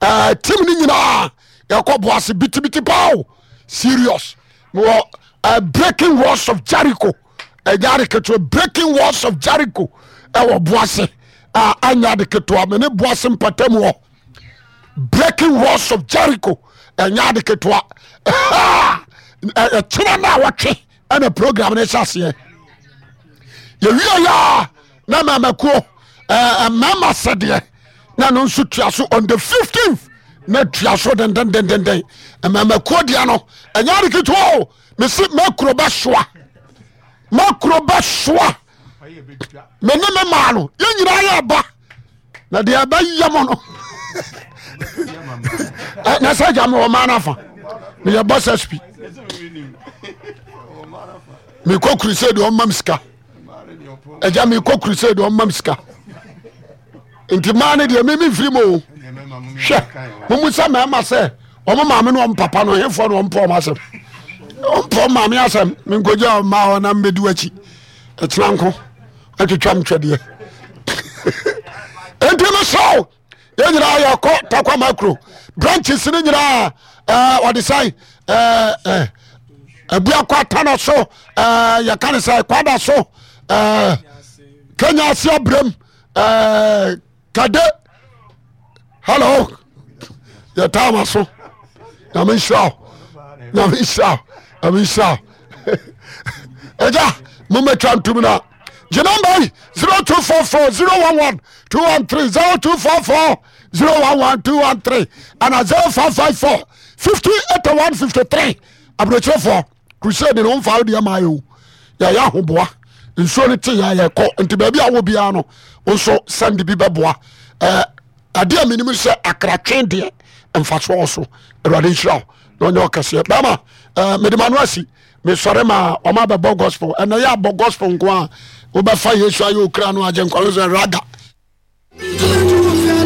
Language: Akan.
Team no nyinaa yɛkɔ boase bitibiti paa o, serious. Mewɔ Breaking Walls of Jericho, ɛnyɛ ade ketewa. Breaking Walls of Jericho ɛwɔ boase a anyɛ ade ketewa. Mene boase mpatamu hɔ. Breaking Walls of Jericho ɛnyɛ ade ketewa. Ɛkyena no a wɔtwe ɛna program no hyɛ aseɛ. Yɛwie yɛ a na mamakuo mmarima sɛdeɛ na no nso tua so on the 15th na tua so dendendendenden. Mmamakuo deɛ no ɛnyɛ ade ketewa o. Mesi makuro bɛsoa, makuro bɛsoa. Me ne me maa no yɛn nyinaa yɛ ba na deɛ ɛbɛyɛ mo no na sɛ gya mewɔ maa no afa meyɛ bɔ sɛ spi mekɔ crusade ɔmam sika agya mekɔ crusade ɔmam sika nti maa no deɛ meme mfiri mu o. Hwɛ, momu sɛ mmarima sɛ ɔmo maame ne ɔmo papa no hefoɔ na ɔmpɔ ɔmo asɛm, ɔmpɔ ɔmo maame asɛm. Menkɔgya ɔma hɔ na mbɛdi w'akyi ɛkyena nko atwitwa mtwɛdeɛ. Enti mesrɛ wo, yɛn nyinaa yɛkɔ Takwa Makro branches no nyinaa, ɔde sɛn Abuakɔ atana so, yɛka ne sɛ Kwada so, Kenya ase abrɛm, kade. Hello, yɛtaa ma so. Nyame nhyira wo, Nyame nhyira wo, Nyame nhyira wo. Ɛgya mommɛtwa ntom no a gye namba yi 0244 011 213, 0244 011 213 ana 0554 50 81 53. Aburokyerɛfoɔ crusade no womfa wo deɛ ma yɛ o. Yɛyɛ ahoboa nsuo no te yɛ yɛkɔ nti baabi a wɔ biara no wo nso sɛnde bi bɛboa. Adeɛ a menim sɛ akratwe deɛ mfasoɔ wɔ so. Awurade nhyira wo na ɔnyɛ ɔkɛseɛ bɛma. Mede ma no asi mesɔre ma ɔma bɛbɔ gospel. Ɛnɛ yɛ abɔ gospel nko a wobɛfa Yesu ayɛ okra no agye nkwa no sɛ raga.